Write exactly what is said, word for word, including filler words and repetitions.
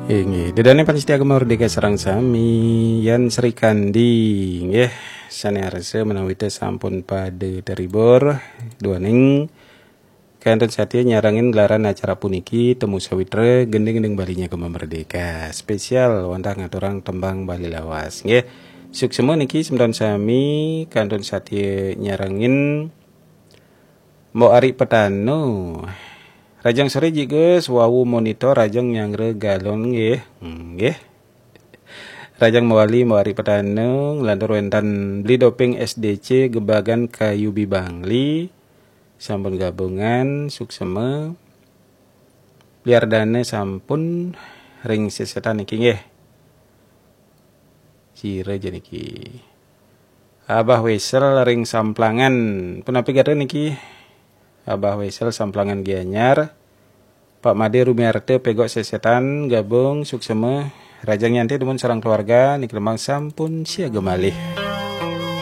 Inggih, ida dané pamiarsa Gema Merdeka sareng sami, Yan Srikandi, nggih, sané arsa menawi té sampun pada teribur, duaning kantun satia nyarengin gelaran acara puniki, Temu Sawitra, gending-gending Balinya Gema Merdeka. Spesial wantah ngaturang tembang Bali lawas, nggih. Suksma niki semeton sami kantun satia nyarengin Mbok Ari Petano. Rahajeng soré Ji Gus, wau monitor rahajeng nyanggra galon nggih. Nggih. Rahajeng mawali Mbok Ari Petano, nglantur wénten Beli Doping S D C Gebagan Kayu Bibangli, sampun gabungan, suksma. Beli Ardana sampun ring sesetan niki nggih. Sira ja niki. Abah Wesel ring Samplangan. Punapi gatra niki? Abah Wesel Samplangan Gianyar. Pak Made Rumiarta Pegok Sesetan gabung, suksma. Rahajeng nyanté dumun sareng keluarga, niki Rembang sampun siaga malih.